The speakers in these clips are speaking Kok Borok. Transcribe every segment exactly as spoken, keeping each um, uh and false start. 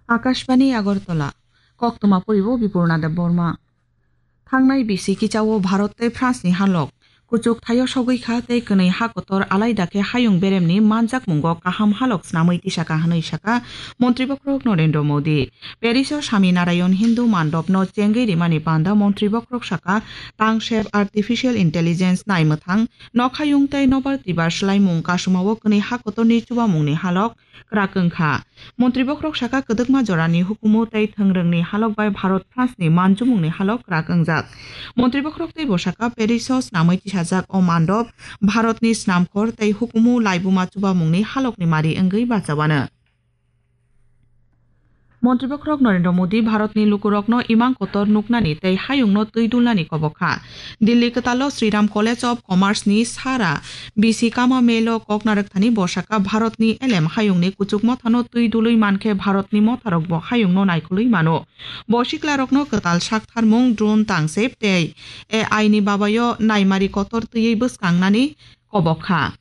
Akashbani Agartala, koktwma poribo Bipurna Debbarma. Thangnai bisi kichao Bharat tei France ni halok kuchuk thaio sogwi kha tei kwnwi ha kotor alaida khe hayung beremni manjakmungo kaham halok snamwi tisaka hwnwi saka Montri Bokhorok Narendra Modi. Paris o Swami Narayan Hindu Mandop no chengwi rimani panda Montri Bokhorok saka tangsep artificial intelligence naimwthang nokhayung tei nobar twibar swlaimung kasumao kwnwi ha kotorni chubamungni halok kwrak wngkha. Montri Bokhorok saka kwdwkma jorani hukumu tei thwngrwngni halok bai Bharat France ni manjumungni halok kwrak wngjak. Montri Bokhorok tei bwsaka Paris o snamwi tisajak o mandop Bharatni snamkhor tei hukumu laibuma chubamungni halokni mari wngwi bachawano. Montri Bokhorok Narendra Modi Bharatni lukurokno imang kotor nuknani tei hayungno twi dulnani kobok kha. Dilli kwtalo Sriram College of Commerce ni sara bisi kama melo kok narwkthani bwsaka Bharatni elem hayungni kuchuk mothano twi dului mankhe Bharatni motharokbo hayungno naikolwi mano. Bo siklarokno kwtal saktharmung, drone tangsep tei A I ni babayo naimari kotor twiwi bwskangnani kobok kha.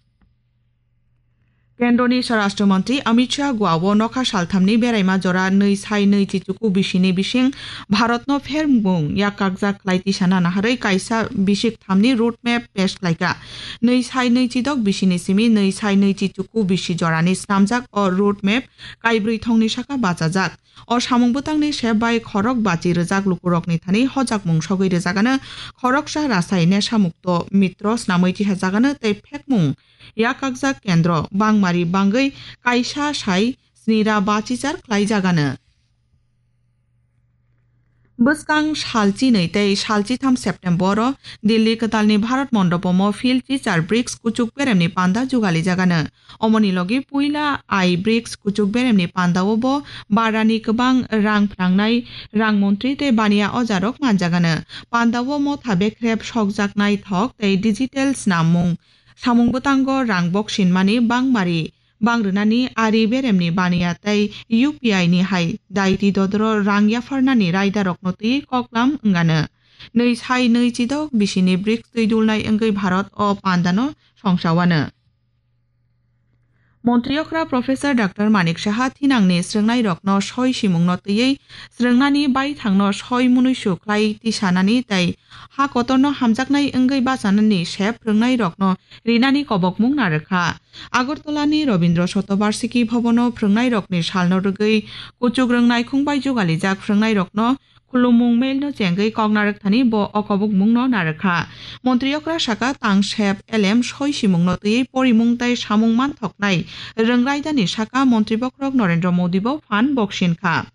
Kendroni Swarashtra Mantri Amit Shah Goa o nokha salthamni beraima jora nwi sai nwi chichuku bisini bising Bharatno phermung yakakjak khlai tisana naharwi kaisa bisik thamni road map pesh khlaikha. Nwi sai nwi chidok bisini simi nwi sai nwi chichuku bisi jorani snamjak o road map kaibrwi thongni saka bachajak. O samung bwtangni sep bai khorok bachi rwjak lukurokni thani hojakmung sogwi rwjagano, khoroksa Rasai Nesha Mukto Mitro snamwi tisajagano tei phekmung yakakjak kendro bangmari bangwi kaisa sai snira bachichar khlaijagano. Bwskang sal chinwi tei sal chitham September o Delhi kwtalni Bharat Mondopomo Phil Chichar brics kuchuk beremni panda jugalijagano. Omoni logi puila ai brics kuchuk beremni pandao bo barani kwbang rang phnangnai rang montri tei baniya ojarok manjagano. Pandao motha bekrep sokjaknai thok tei digital snamung samung bwtango rang boksinmani bangmari bang rwnani ari beremni baniya tei U P I ni hai daiti dodoro rang yapharnani raidarokno twi koklam wngano. Nwi sai nwi chidok bisini brics twi dulnai wngwi Bharat o pandano songsawano. Montri okra Professor Doctor Manik Saha thinangni srwngnairokno soi simungno twiwi srwngnani baithangno soi munuisu khlai tisanani tei ha kotorno hamjaknai wngwi bachanani sep phrwngnairokno rinani kobokmung narwkha. Agartalani Rabindra Shatobarshiki Bhabono phrwngnairokni salno rwgwi kuchuk rwng naikhung bai jugalijak phrwngnairokno khulumung mailno chengwi kok narwkthani bo o kobokmungno narwkha. Montri okra saka tang sep elem soi simungno twiwi porimung tei samung manthoknai rwng raidani saka Montri Bokhorok Narendra Modi bo phan boksin kha.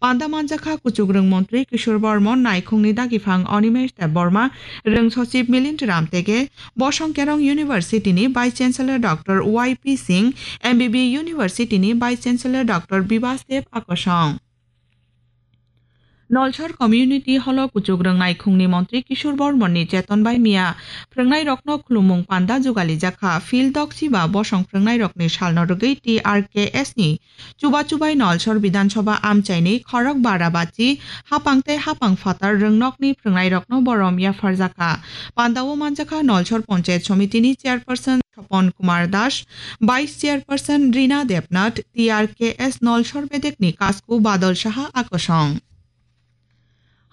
Panda manjakha kuchuk rwng montri Kishore Bormon, naikhungni dagiphang Animesh Debbarma, rwng sochib Milind Ramtege, Bosong Kerong University ni Vice Chancellor Doctor Y P Singh, M B B University ni Vice Chancellor Doctor Bibas Dev Akosong. Nolsor Community Hall o kuchuk rwng naikhungni montri Kishore Bormon ni cheton bai miya phrwngnairokno khulumung panda jugalijak kha. Phil Doksi ba bosong phrwngnairokni salno rwgwi T R K S ni chuba chubai Nolsor Bidhan Sabha amchaini khorok bara bachi hapang tei hapang phatar rwngnokni phrwngnairokno borom yapharjakha. Pandao manjakha Nolsor Panchayat Somitini Chairperson Sopon Kumar Das, Vice Chairperson Rina Debnath, T R K S Nolsor Bedekni Kasku Badal Saha Akosong.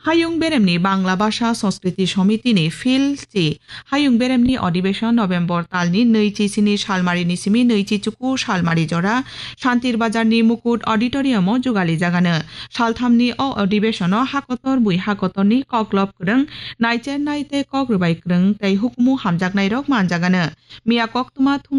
Hayung beremni Bangla Bhasha Sanskriti Somitini Phil chi Hayung beremni Adhibeshon November talni nwi chi sini salmari ni simi nwi chi chuku salmari jora Shantir Bazarni Mukut Auditorium o jugalijagano. Salthamni o adhibeshono hakotor bui hakotorni koklop kwrwng, naichernai tei kok rwbai kwrwng tei hukumu hamjaknairok manjagano. Miya koktwma thumnai